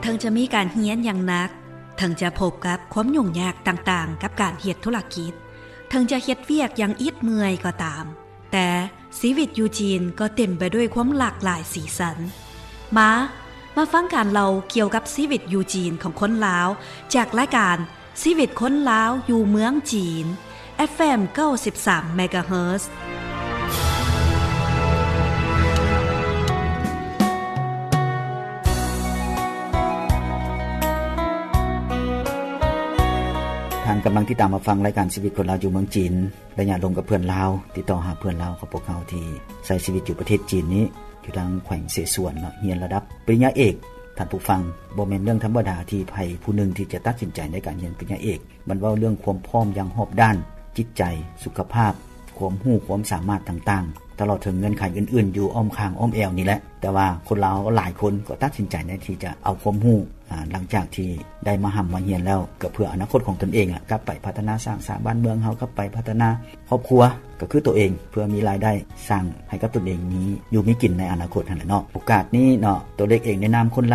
ເຖິງຈະມີການຮຽນຢ່າງໜັກ, ເຖິງຈະພົບກັບຄວາມຫຍຸ້ງຍາກຕ່າງໆກັບການເຮັດທຸລະກິດ, ເຖິງຈະເຮັດວຽກຢ່າງອິດເມື່ອຍກໍຕາມ, ແຕ່ຊີວິດຢູ່ຈີນກໍເຕັມໄປດ້ວຍຄວາມຫຼາກຫຼາຍສີສັນ. ມາ, ມາຟັງການເລົ່າກ່ຽວກັບຊີວິດຢູ່ຈີນຂອງຄົນລາວ ຈາກລາຍການ ຊີວິດຄົນລາວຢູ່ເມືອງຈີນ ເອັຟເອັມ ເກົ້າສິບສາມ ເມກາເຮີດ. ທ່ານກຳລັງຕິດຕາມຮັບຟັງລາຍການຊີວິດຄົນລາວຢູ່ເມືອງຈີນ ໄລຍະລົມກັບເພື່ອນລາວ. ຕິດຕໍ່ຫາເພື່ອນລາວຂອງພວກເຮົາທີ່ໃຊ້ຊີວິດຢູ່ປະເທດຈີນນີ້ ຢູ່ທາງແຂວງເສສວນເນາະ, ຮຽນລະດັບປະລິນຍາເອກ. ທ່ານຜູ້ຟັງ, ບໍ່ແມ່ນເລື່ອງທຳມະດາທີ່ໃຜຜູ້ໜຶ່ງທີ່ຈະຕັດສິນໃຈໃນການຮຽນປະລິນຍາເອກ. ມັນເວົ້າເລື່ອງຄວາມພ້ອມຢ່າງຮອບດ້ານ, ຈິດໃຈ, ສຸຂະພາບ, ຄວາມຮູ້ຄວາມສາມາດຕ່າງໆ, ຕະຫຼອດເຖິງເງື່ອນໄຂອື່ນໆຢູ່ອ້ອມຂ້າງອ້ອມແອວນີ້ແຫຼະ. ແຕ່ວ່າຄົນລາວຫຼາຍຄົນກໍຕັດສິນໃຈໃນທີ່ຈະເອົາຄວາມຮູ້ ອາ ຫຼັງຈາກທີ່ໄດ້ມາຮ່ຳມາຮຽນແລ້ວ ກໍເພື່ອອະນາຄົດຂອງຕົນເອງລະ, ກັບໄປພັດທະນາສ້າງສາງບ້ານເມືອງເຮົາ, ກັບໄປພັດທະນາຄອບຄົວ ກໍຄືຕົວເອງ, ເພື່ອມີລາຍໄດ້ສ້າງໃຫ້ກັບຕົນເອງມີຢູ່ມີກິນໃນອະນາຄົດຫັ້ນແຫຼະເນາະ. ໂອກາດນີ້ເນາະ, ຕົວເລັກເອງໃນນາມຄົນລາວ